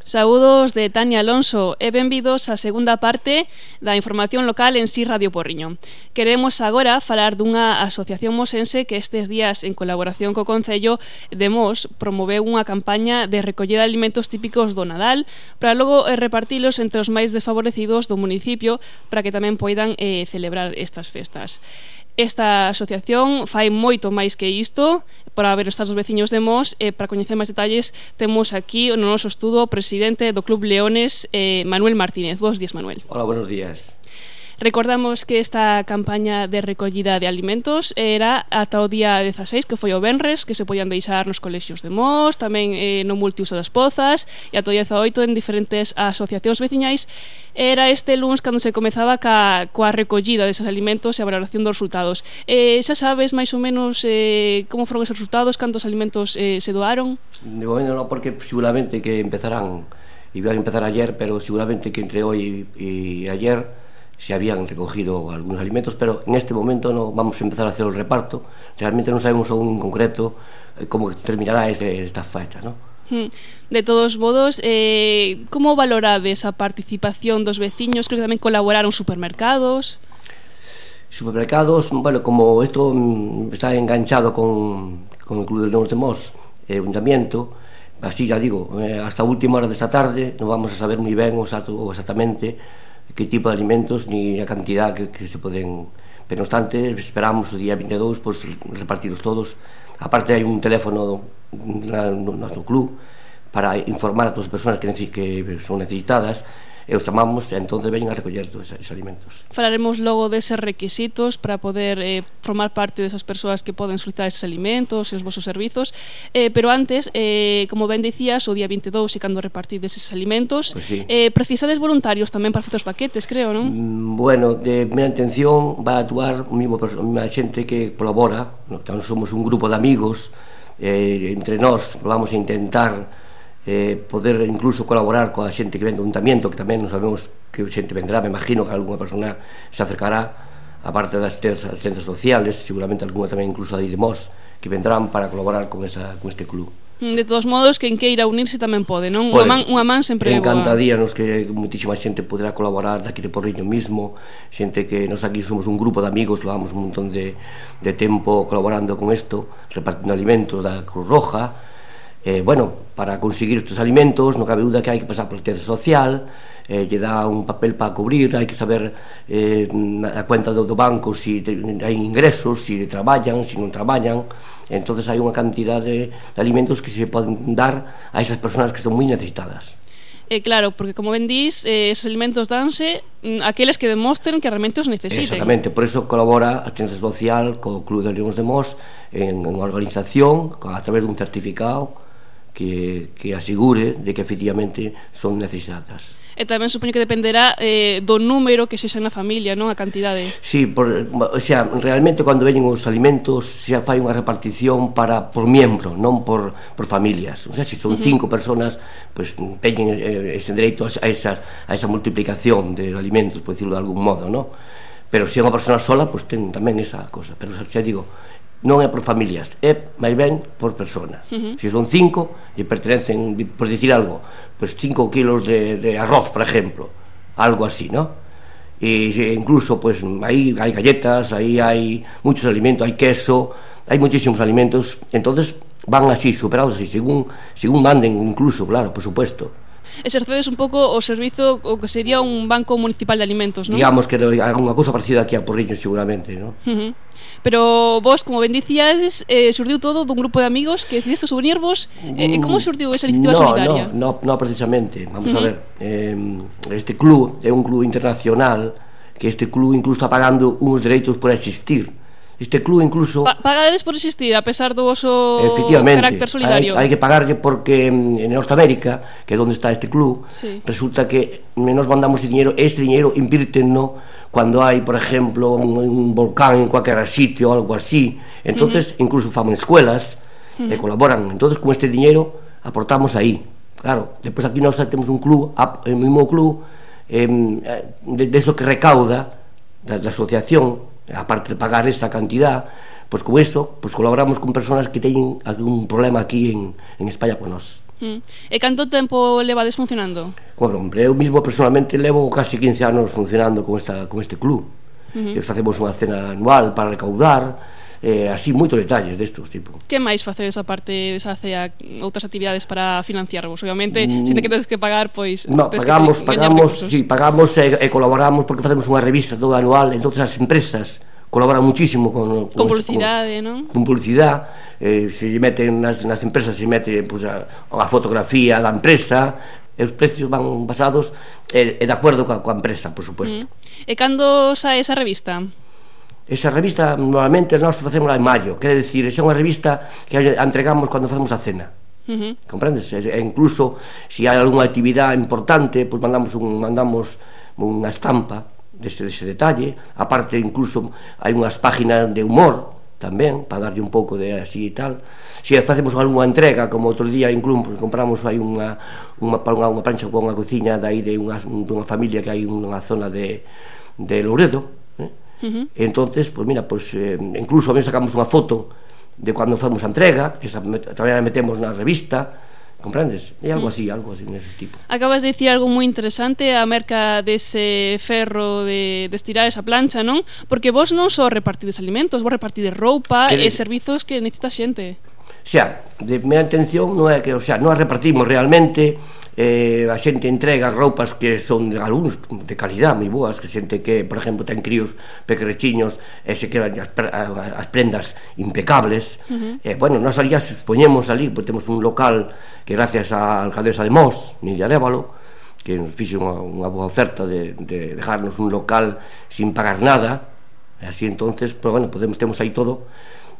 Saúdos de Tania Alonso e benvidos á segunda parte da información local en Si Radio Porriño. Queremos agora falar dunha asociación mosense que estes días, en colaboración co Concello de Mos, promoveu unha campaña de recollida de alimentos típicos do Nadal para logo repartilos entre os máis desfavorecidos do municipio para que tamén poidan celebrar estas festas. Esta asociación fai moito máis que isto para ver os veciños de Mos e para coñecer máis detalles temos aquí no noso estudo o presidente do Club Leones, Manuel Martínez. Bos días, Manuel. Hola, buenos días. Recordamos que esta campaña de recollida de alimentos era ata o día 16, que foi o venres, que se podían deixar nos colexios de Mos, tamén no multiuso das Pozas, e ata o 18 en diferentes asociacións veciñais. Era este luns cando se comezaba coa recollida deses alimentos e a valoración dos resultados. Xa sabes máis ou menos como foron esos resultados, cantos alimentos se doaron? De momento non, porque seguramente que empezarán, iban a empezar ayer, pero seguramente que entre hoy y ayer se habían recogido algunos alimentos, pero en este momento no vamos a empezar a hacer el reparto. Realmente non sabemos aún en concreto como terminará esta fecha, ¿no? De todos modos, como valorades a participación dos veciños? Creo que tamén colaboraron supermercados. Supermercados, bueno, como esto está enganchado con el Club de Leones de Mos, el ayuntamiento, así ya digo, hasta última hora de esta tarde non vamos a saber moi ben exactamente que tipo de alimentos ni a cantidad que se poden, pero no obstante esperamos o día 22 pues, repartirlos todos. Aparte hai un teléfono no noso club para informar a todas as persoas que son necesitadas, e os chamamos e entonces veñen a recoller todos esos alimentos. Falaremos logo deses requisitos para poder formar parte desas persoas que poden solicitar esos alimentos e os vosos servizos, pero antes, como ben dicías, o día 22 e cando repartides esos alimentos, pues sí. Precisades voluntarios tamén para facer os paquetes, creo, non? Bueno, de primeira intención va a actuar a mesma xente que colabora, somos un grupo de amigos, entre nós vamos a intentar poder incluso colaborar coa xente que ven do ayuntamiento, que tamén non sabemos que xente vendrá, me imagino que alguna persona se acercará, aparte das asistencias sociales, seguramente alguna tamén incluso de Mos, que vendrán para colaborar con este club. De todos modos, quen queira unirse tamén pode, non? Unha man sempre é boa. Encantaríanos que moitísima xente poderá colaborar daqui de Porriño mismo, xente que nos aquí somos un grupo de amigos, levamos un montón de tempo colaborando con isto, repartindo alimentos da Cruz Roja. Bueno, para conseguir estes alimentos non cabe duda que hai que pasar por a asistencia social, lle dá un papel para cubrir, hai que saber a cuenta do banco se hai ingresos, se traballan, se non traballan. Entonces hai unha cantidad de alimentos que se poden dar a esas persoas que son moi necesitadas. Claro, porque como ben dís, esos alimentos danse aqueles que demostren que realmente os necesiten. Exactamente, por eso colabora a asistencia social co Club de Leones de Mos en unha organización a través dun certificado que asegure de que efectivamente son necesitadas. E tamén supoño que dependerá do número que sexa na familia, non? A cantidade. Sí, o sea, realmente cando veñen os alimentos xa fai unha repartición por miembro, non por familias. O sea, se son 5 personas, pues teñen ese dereito a esa multiplicación de alimentos, por decirlo de algún modo, non? Pero se é unha persona sola, pues ten tamén esa cosa. Pero xa digo, non é por familias, é máis ben por persona. Se son 5 e pertenecen, por dicir algo, pues 5 kilos de arroz, por ejemplo, algo así, ¿no? E incluso pues aí hai galletas, aí hai muchos alimentos, hai queso, hai muchísimos alimentos, entonces van así, superados así, según manden incluso, claro, por supuesto. Exercedes un pouco o servizo o que sería un banco municipal de alimentos, non? Digamos que hai unha cousa parecida aquí a Porriño seguramente, non? Pero vos, como ben dicíades, surdiu todo dun grupo de amigos que decidiste unirvos. Como surdiu esa iniciativa solidaria? No, precisamente, vamos a ver, este club é un club internacional, que este club incluso está pagando uns dereitos por existir. Este club incluso pagades por existir a pesar do voso carácter solidario. Hai que pagarlle porque en Norteamérica, que é onde está este club, sí, resulta que nos mandamos ese dinero invírtenno cando hai, por exemplo, un volcán en cualquier sitio, algo así. Entonces incluso faman escuelas e colaboran. Entonces con este dinero aportamos aí. Claro, despois aquí nós temos un club, o mismo club de eso que recauda da asociación, aparte de pagar esa cantidad, pues con eso pues colaboramos con personas que teñen algún problema aquí en España con nós. E canto tempo levades funcionando? Bueno, hombre, eu mismo personalmente levo casi 15 anos funcionando con este club. Facemos unha cena anual para recaudar, así moitos detalles destos tipo. Que máis facedes aparte desa cea, outras actividades para financiarvos? Obviamente, sin que tedes que pagar, pois... No, pagamos e colaboramos porque facemos unha revista toda anual, entonces as empresas colaboran muchísimo con publicidade, non? Con publicidade, se meten nas empresas, se mete pues, a fotografía da empresa, e os precios van basados de acordo coa empresa, por suposto. E cando sae esa revista? Esa revista normalmente nós facemos en maio, quere dicir, é unha revista que entregamos cando facemos a cena. Comprendes? E incluso se hai algunha actividade importante, pues mandamos unha estampa dese detalle. Aparte, incluso hai unhas páginas de humor tamén, para darlle un pouco de así e tal. Se facemos algunha entrega, como outro día incluso compramos aí unha plancha con unha cociña de aí dunha familia que hai unha zona de Louredo, entonces, pues mira, incluso a mí sacamos unha foto de cando fomos a entrega, esa tamén a metemos na revista, comprendes? É algo así nese tipo. Acabas de dicir algo moi interesante acerca dese ferro de estirar esa plancha, non? Porque vos non só repartides alimentos, vos repartides roupa e servizos que necesita xente. De primeira intención non é que, non as repartimos realmente, a xente entrega roupas que son de algúns de calidad moi boas, que xente que, por exemplo, ten críos pequerechiños e se quedan as prendas impecables. Bueno, nós ali as expoñemos ali, porque temos un local que gracias á alcaldesa de Mos, Nidia Arévalo, que nos fixe unha boa oferta de dejarnos un local sin pagar nada, e así entonces, pues, bueno, temos aí todo.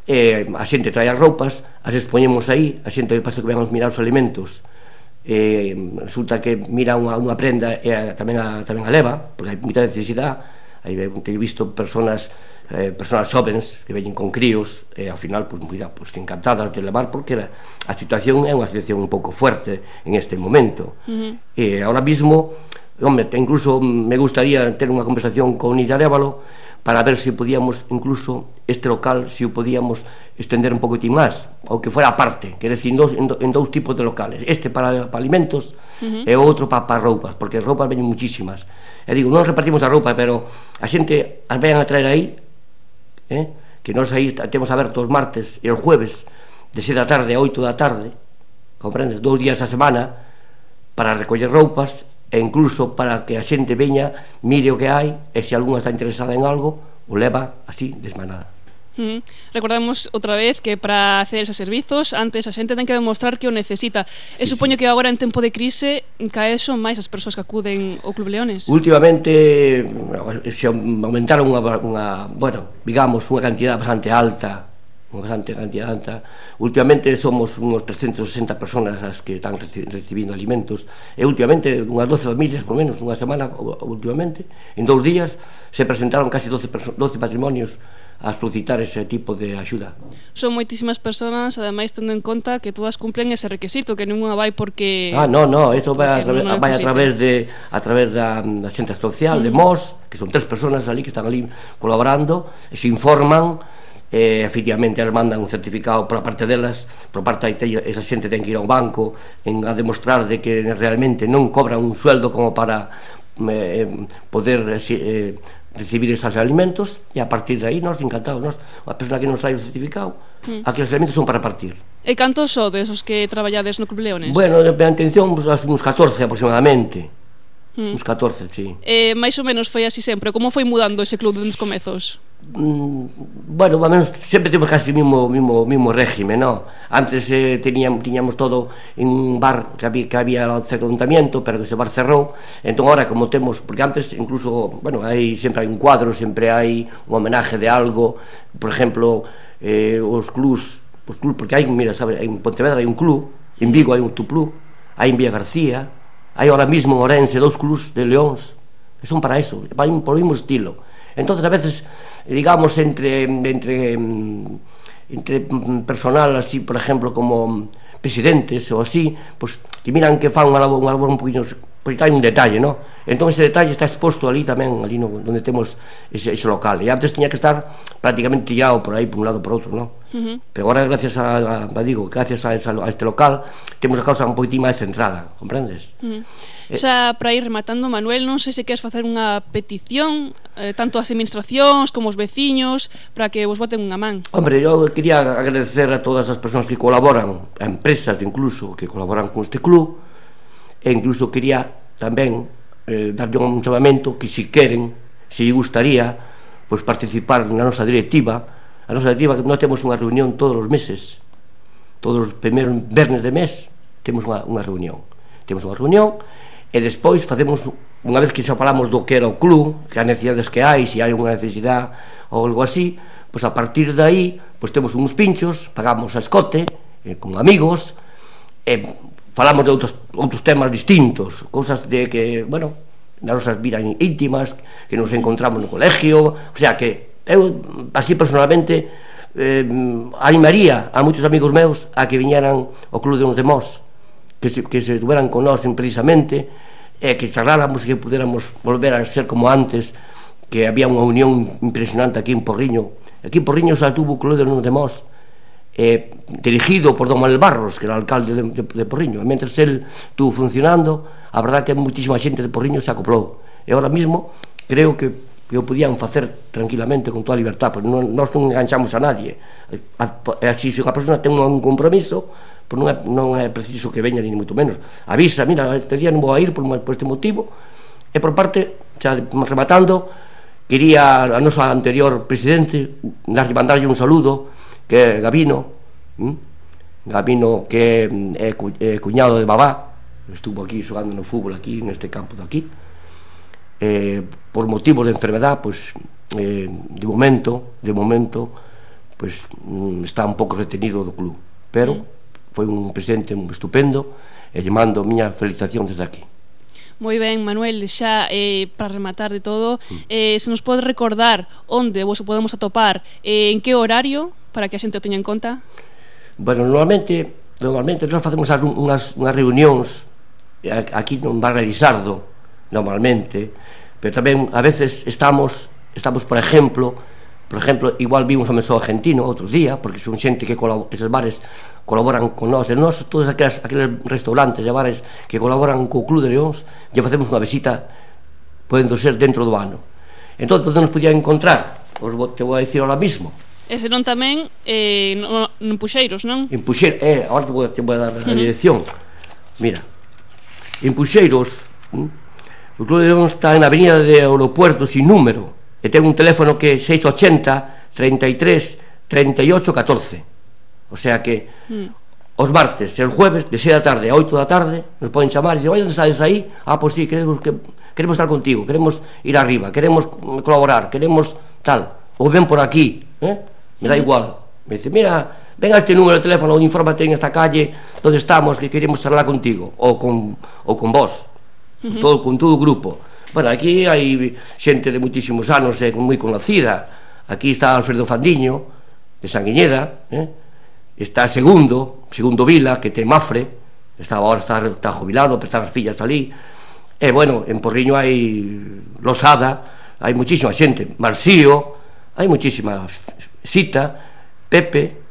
A xente trae as roupas, as expoñemos aí, a xente que pasa que vengan mirar os alimentos, resulta que mira unha prenda e tamén a leva, porque hai moita necesidade. He visto personas xovens que veñen con críos e ao final, pues, mira, pues, encantadas de levar, porque a situación é unha situación un pouco fuerte en este momento. E ahora mismo, hombre, incluso me gustaría ter unha conversación con Nidia Arévalo para ver se podíamos, incluso este local, se o podíamos estender un poquitín máis, ou que fuera aparte, quer decir, en dous tipos de locales, este para alimentos e o outro para roupas, porque as roupas veñen muchísimas. E digo, non repartimos a roupa, pero a xente as vean a traer aí, que nós aí temos aberto os martes e os jueves de 6 da tarde a 8 da tarde, comprendes, 2 días a semana para recoller roupas e incluso para que a xente veña, mire o que hai, e se algunha está interesada en algo, o leva así, desmanada. Recordamos outra vez que para hacer esos servizos antes a xente ten que demostrar que o necesita. E supoño que agora en tempo de crise cada vez son máis as persoas que acuden ao Club Leones. Últimamente se aumentaron bueno, digamos, unha cantidad bastante alta. Últimamente somos unos 360 personas as que están recibindo alimentos, e últimamente unhas 12 familias, por menos, unha semana últimamente, en 2 días se presentaron casi 12 patrimonios a solicitar ese tipo de axuda. Son moitísimas personas, ademais tendo en conta que todas cumplen ese requisito, que nunha vai porque... No, isto vai a través da xente social de Mos, que son 3 personas ali que están ali colaborando e se informan. Efectivamente elas mandan un certificado por a parte delas, por parte esa xente ten que ir ao banco a demostrar de que realmente non cobran un sueldo como para poder recibir esos alimentos, e a partir de aí nós encantados, a persona que nos trae o certificado, aqueles alimentos son para partir. E cantos sodes os que traballades no Club Leones? Bueno, a intención uns 14 aproximadamente. Uns 14, sí. Mais ou menos foi así sempre? Como foi mudando ese club nos comezos? Bueno, sempre temos casi o mismo régimen, ¿no? Antes tiñamos todo en un bar que había cerca do ayuntamiento, pero que ese bar cerrou. Entón agora, como temos, porque antes incluso, bueno, sempre hai un cuadro, sempre hai un homenaje de algo. Por exemplo, os clubs, porque hai, mira, sabes, en Pontevedra hai un club, en Vigo hai un club, hai en Villa García, hai ahora mismo en Orense 2 clubs de Leóns, que son para eso, para por o mismo estilo. Entonces a veces, digamos, entre personal así, por ejemplo, como presidentes ou así, pues que miran que fan unha labor un poquinho porque hai un detalle, non? Entón ese detalle está exposto ali tamén, ali onde temos ese local, e antes tiña que estar prácticamente tirado por aí, por un lado por outro, non? Pero agora, gracias a este local, temos a causa un poquitín máis centrada, comprendes? Xa, para ir rematando, Manuel, non sei se queres facer unha petición, tanto ás administracións como aos veciños, para que vos boten unha man. Hombre, eu quería agradecer a todas as persoas que colaboran, a empresas incluso, que colaboran con este club, e incluso quería tamén darlle un chamamento que se queren, se gustaría, pois participar na nosa directiva. A nosa directiva, que nós temos unha reunión todos os meses, todos os primeiros vernes de mes temos unha reunión, e despois facemos, unha vez que xa falamos do que era o club, que as necesidades que hai, se hai unha necesidade ou algo así, pois a partir de aí pois temos uns pinchos, pagamos a escote con amigos, e falamos de outros temas distintos, cousas de que, bueno, nas nosas vidas íntimas, que nos encontramos no colegio, o sea que eu, así personalmente, animaría a moitos amigos meus a que viñeran ao Club de Mos, que se estuveran con nós precisamente, e que charláramos e que pudéramos volver a ser como antes, que había unha unión impresionante aquí en Porriño. Aquí en Porriño xa tuvo o Club de Mos, dirigido por don Manuel Barros, que era o alcalde de Porriño, e mentre el estuvo funcionando, a verdad que moitísima xente de Porriño se acoplou, e ahora mismo creo que o podían facer tranquilamente con toda a libertad, porque nós non enganchamos a nadie, así se unha persona ten un compromiso, pois non é preciso que veña ni moito menos, avisa, mira, este día non vou a ir por este motivo. E por parte, xa rematando, quería a nosa anterior presidente mandarlle un saludo, que é Gabino, que é cuñado de Babá, estuvo aquí xogando no fútbol aquí, neste campo de aquí, por motivos de enfermedad, pois de momento pois está un pouco retenido do club, pero foi un presidente estupendo, e lle mando a miña felicitación desde aquí. Moi ben, Manuel, xa para rematar de todo, se nos pode recordar onde vos podemos atopar, en que horario, para que a xente o teña en conta? Bueno, normalmente nós facemos unhas reunións aquí no Bar Elisardo, normalmente, pero tamén a veces estamos por exemplo, igual vimos a Mesón Argentino outro día, porque son xente que eses bares colaboran con nós, e nós todos aqueles restaurantes e bares que colaboran co Club de Leóns, lle facemos unha visita, podendo ser dentro do ano. Entón, onde nos podían encontrar? Te vou a dicir ahora mismo. E senón tamén en Puxeiros, non? En Puxeiros, agora te vou a dar a dirección. Mira, en Puxeiros, o Club de Leóns está na avenida de Aeropuerto sin número, e ten un teléfono que é 680 33 38 14. O sea que os martes e os jueves de 6 da tarde a 8 da tarde nos poden chamar e dicen, oi, onde estás aí? Ah, pois sí, queremos estar contigo, queremos ir arriba, queremos colaborar, queremos tal, ou ven por aquí, me da igual. Me dice, mira, ven a este número de teléfono, infórmate en esta calle onde estamos, que queremos charlar contigo, ou con vos, con todo o grupo. Bueno, aquí hai xente de moitísimos anos moi conocida. Aquí está Alfredo Fandiño, de Sanguiñeda, está Segundo Vila, que ten Mafre, agora está jubilado, pero están as fillas ali. E, bueno, en Porriño hai Losada, hai moitísima xente, Marxío, hai moitísima Sita, Pepe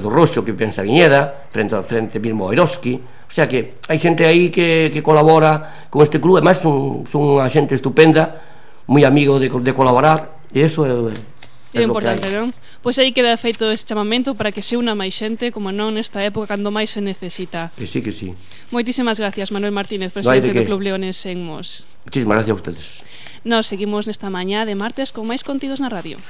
do Roxo, que vive en Sanguiñeda, frente mismo a Eroski. O sea que hai xente aí que colabora con este club, e máis son unha xente estupenda, moi amigo de colaborar, e iso é importante, non? Pois aí queda feito ese chamamento para que se una máis xente, como non nesta época cando máis se necesita. Que sí, que sí. Moitísimas gracias, Manuel Martínez, presidente do Club Leones en Mos. Muchísimas gracias a ustedes. Nos seguimos nesta mañá de martes con máis contidos na radio.